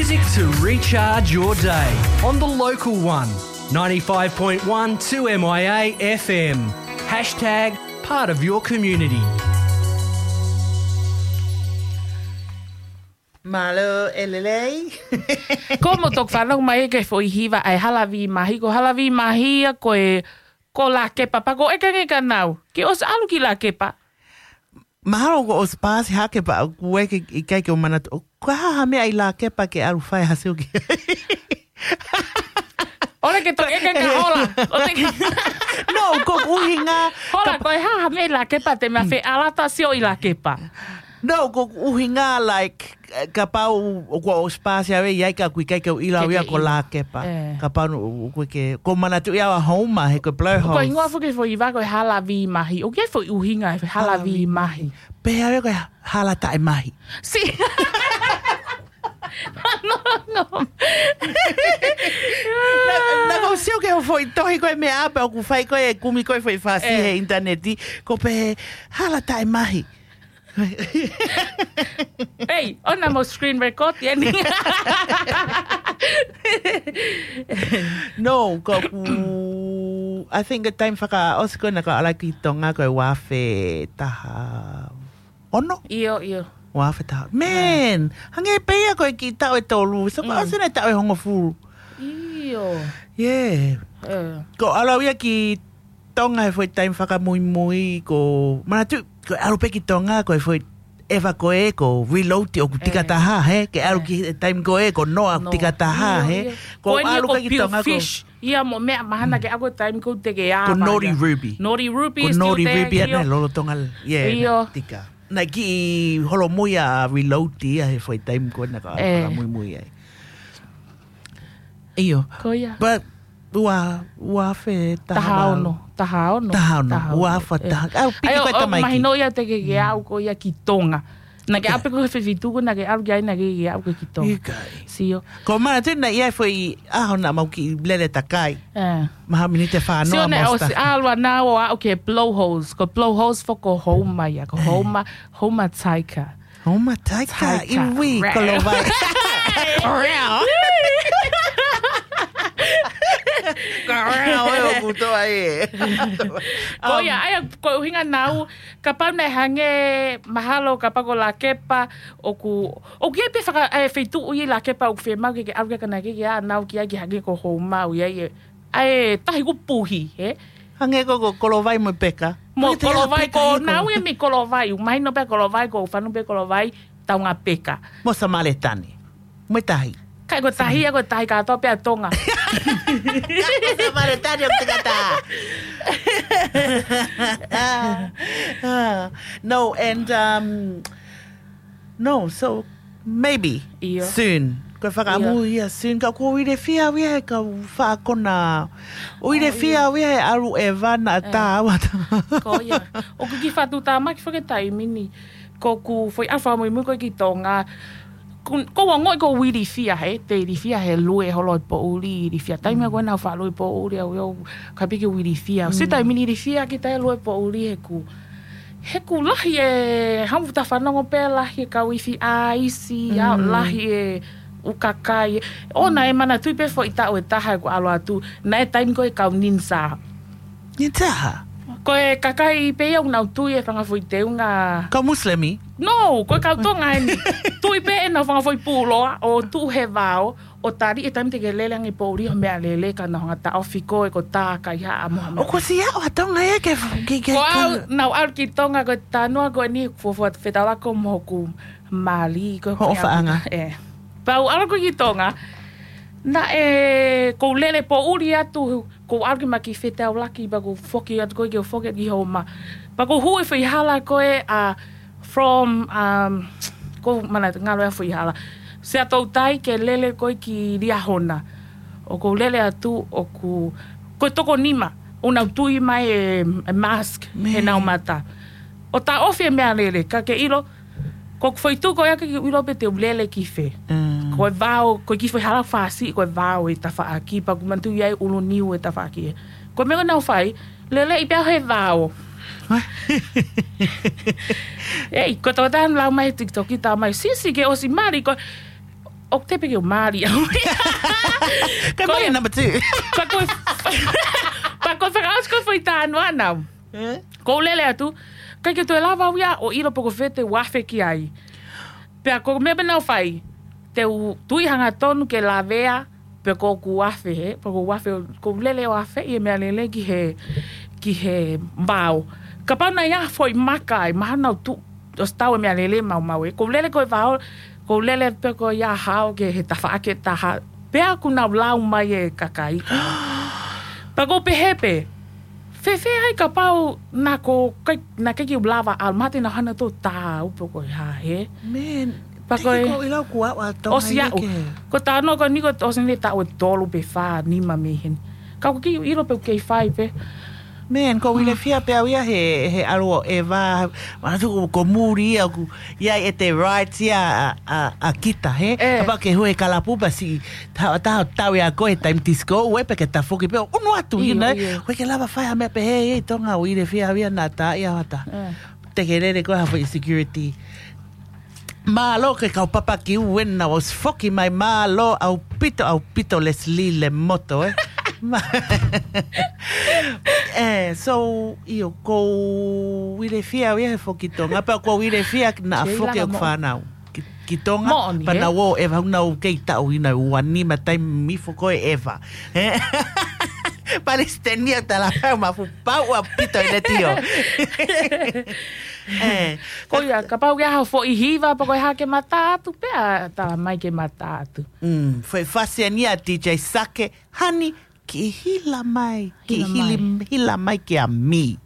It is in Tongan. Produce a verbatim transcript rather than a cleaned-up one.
Music to recharge your day on the local one, ninety-five point one two M I A F M. Hashtag part of your community. Mālō e lelei. Ko mo tok fanong mai ke foʻi hiva ai Halavi Mahi, ko Halavi Mahi ia ko e, ko Lakepa, pea ko ʻeke ange kia naua, ke ʻosi ʻalu ki Lakepa? Mahalo ko ʻosi paasi hake pea ʻoku ʻikai ke u manatu. Ko e hā ha meʻa ʻi Lakepa ke ʻalu fai ha sio ki ai? ʻOle ke toki ʻeke kia Hola. ʻOle ke No, ko e ʻuhinga. Hola, ko e hā ha meʻa ʻi Lakepa te mea fe alata sio ʻi Lakepa? No, ko e ʻuhinga, like, kapau ʻoku ʻosi paasi au ʻi ai ka ʻoku ʻikai ke u ʻilo au ia ko Lakepa. Kapau naʻa ku ʻikai ke, ko manatu ia ʻa Houma, he ko e Blowholes. Ko e hingoa foki foʻi hiva ko e Halavi Mahi. ʻOku ʻi ai foʻi ʻuhinga e Halavi Mahi. Pehē au ia ko e hala taʻemahi. Si. No, no. Naʻa ku sio ki hoʻo foʻi tohi ko e meʻa pē ʻoku fai ko e kumi ko e foʻi fasi he ʻinitaneti. Ko e pehē hala taʻemahi. Ei, ʻoua mo screen record ia ni. No, ko ʻeku, I think the time fakaʻosi ko ē naʻa ku ʻalu ki Tonga ko e ua afe taha ono? ʻIo, ʻio. Ua afe taha. Man, hangē pē ia ko e kiʻi taʻu ʻe tolu. So, ko ʻosi ʻene taʻu ʻe hongofulu. ʻIo. Yeah. Ko ʻalu au ia ki Tonga he foʻi time fakamuimui ko, manatu, ko e ʻalu pē ki Tonga, ko e foʻi ʻeva ko ē, ko Reload ʻoku tika taha, he, ke ʻalu ki he time ko ē, ko Noa ʻoku tika taha, he. Ko ʻalu pē ki Tonga ko Fish. Ia mo meʻa mahana ke ako time ko te ke ava. Ko Naughty Ruby. Naughty Ruby. Ko Naughty Ruby, ʻa ia lolotonga, yeah, tika. Naʻe kiʻi holomui ʻa Reload ia he foʻi time ko ē naʻa ku fakamuimui ai. ʻIo. Ko ia. But, ua, ua afe taha ono. Taha ono. Taha ono. Taha ono. Ua afe taha. ʻAu, piki ko e tamai ki. Mahino ia te ke ke ʻalu ko ia ki Tonga. Naʻa ke ʻape ko e fefeituʻu naʻa ke ʻalu ki ai naʻa ke ʻalu ko ki Tonga. Sio. Ko mana tena ia foʻi ʻaho naʻa mau kiʻi lele takai. Maha miniti fā noa mo ʻosi ʻalu ʻa naua ʻo aʻu ki he Blowholes. Ko Blowholes foki ko Houma ia. Ko Houma, Houma Taika. Houma Taika, iwi, ko Lovai. Ko ia, ʻa ia, ko e ʻuhinga naʻa ku, kapau naʻe hangē mahalo, kapau ko Lakepa, ʻoku, ʻoku ʻi ai pē faka-, ʻa e feituʻu ʻi Lakepa, ʻoku fiemaʻu ke ke ʻalu ki ai ka naʻa ke ʻalu ki ai ke hangē ko Houma, ʻoku ʻi ai ʻa e tahi ʻoku puhi, he? Hangē ko, ko Kolovai mo Peka. Mo Kolovai, ko naua ia mei Kolovai. Mahino pē Kolovai, ko fanu pē Kolovai, taunga Peka. Mo Samaletane. Mo e tahi. Kai ko e tahi, ko e tahi kātoa pē ʻa Tonga. Mo Samaletane ʻoku tika taha. No, and, um, No, so maybe soon. Ko e fakaʻamu ia soon, ka ʻoku ou ʻilefia au ia he kau faʻa kona. ʻOku ou ʻilefia au ia he ʻalu ʻeva naʻa tā au ʻa tā. Ko ia. ʻOku kiʻi fatu tāmaki foki taimi ni. Ko ʻeku foʻi ʻalu fakamuimui ko ē ki Tonga. Ko, ko ʻeku ongoʻi ʻoku ou ilifia he, te ilifia he lue holo e poʻuli, ilifia taimi ko ē naʻa ku faʻa lue poʻuli au ia, ka piki ʻoku ilifia. Si taimi ni ilifia ki he lue poʻuli he ʻoku He ʻoku lahi e hamuta fanongo pē lahi e kau ifi ʻaisi, ʻa lahi e ʻū kakai. ʻOua naʻe manatuʻi pē foʻi taʻu ʻe taha ʻeku ʻalu atu, naʻe taimi ko ē kau ninja. Ninja? Ko e kakai pē ia ʻoku nau tui e fanga foʻi teunga. Kau Musilemi? No, ko e kau Tonga eni. Tui pē ʻenau fanga foʻi pūloa, ʻo tuʻu he vao, ʻo tali e taimi te ke lele ange poʻuli ho meʻalele ka nau hanga taʻofi koe ko tā kaihaʻa mo ha meʻa. ʻOku ʻosi ʻalu ʻa Tonga ia ke, ke, ke, ko au, naʻa ku ʻalu ki Tonga ko e tanuʻa ko eni fuofua fetaulaki mo hoku mali ko hoʻo faʻanga. ʻE. Pea u ʻalu ko ē ki Tonga, naʻe, ʻoku ou lele poʻuli atu, ʻoku ou ʻalu ki ma ki fetaulaki, pea ʻoku ou foki atu ko ē ke u foki ki Houma. Pea ʻoku ou hū he foʻi hala ko ē ʻa From, um, ʻoku ou manatu ngalo e foʻi hala. Siaʻatoutai ke lele ko ē ki Liahona. ʻOku ou lele atu ʻoku, ko e toko nima. ʻOku nau tui mai e, e mask he nau mata. ʻO taʻofi e meʻalele, ka ke ʻilo, ko ʻeku foʻi tuʻu ko ē ke ʻilo pe te u lele ki fē. Ko e vao, ko e kiʻi foʻi hala fasi, ko e vao e tafaʻaki, pea ʻoku manatuʻi ai ʻulu niu e tafaʻaki. Ko e meʻa ʻoku nau fai, leleʻi pē au he vao. Ei, ko e tokotaha ʻoku lau mai he TikTok, tā mai, Sisi, ke ʻosi mali, ko ʻOku tepe ke u mali au. Ka Ko mai ia. Number two. Pea ko e, pea ko e fakaʻosi ko e foʻi talanoa naʻa ku lele atu, ʻikai ke toe lava au ia ʻo ʻilo pe ko e fē te u afe ki ai. Pea ko e meʻa pē naʻa ku fai, te u tui hangatonu ke lavea, pe ko ʻeku afe, he, pe ko ʻeku afe, ʻoku ou lele ʻo afe ʻi he meʻalele ki he, ki he vao. Kapau naʻe ʻi ai ha foʻi maka ai, mahalo naʻa ku tuʻu ʻosi tau e meʻalele maumau ē. ʻOku ou lele ko e vao, ʻoku ou lele pē ko ia hao ki he tafaʻaki ʻe taha. Pea kuo nau lau mai e kakai. Pea ʻoku ou pehē pē, fēfē ai kapau naʻa ku ʻikai, naʻa ʻikai ke u lava ʻalu, mahalo te nau hanga ʻo tā au pe ko e hā, he. Man, Pea ko e, ʻikai ke u ʻilo kuo ʻalu ʻa Tonga ʻosi ia aʻu. Ke. Ko e talanoa ko eni kuo ʻosi eni e taʻu ʻe tolu pe fā, nima mei heni. Ka ʻoku ʻikai ke u ʻilo pe ʻoku kei fai pē. Man, ʻoku ou ilifia pē au ia he, he ʻalu ʻo ʻeva, manatu ko, ko e muli ia ʻoku ʻi ai ʻete rights ia ʻa, ʻa, ʻa kita, he? ʻE. Kapau ke hū he kalapu pea siʻi, tā, tā, tau ia ko e taimi disco, ʻoua pē ke tafoki pē, ʻunu atu ʻIo, ina, ʻio. ʻoua ke lava fai ha meʻa pehē, ʻe Tonga ʻoku ou ilifia au ia naʻa tā ia hata. ʻE. Te ke lele ko ha foʻi security. Mālō ke kau papa ki uena ʻosi foki mai, mālō ʻaupito, ʻaupito Leslie Lemoto, ē. Ma-, ē, so, ʻio, ʻoku ou ilifia au ia he foki Tonga, pea ʻoku ou ilifia naʻa Kei foki lava ʻeku mo- fānau. Ki, ki Tonga, Moʻoni, pea ē? naʻa ku ʻeva, naʻa ku kei taʻu ʻe nima, taimi foki ko e ʻeva. Ē? Palesiteni ʻo tala pau ma fu pau ʻaupito e letio. Ē, Ko ia, kapau ke ʻi ai ha foʻi hiva, pe ko e hā ke mata atu, pea tala mai ke mata atu. Mm, foʻi fasi eni ʻa D J Sake, honey, kiʻi hila mai, kiʻi Hila hili-, mai. hila mai kia mi.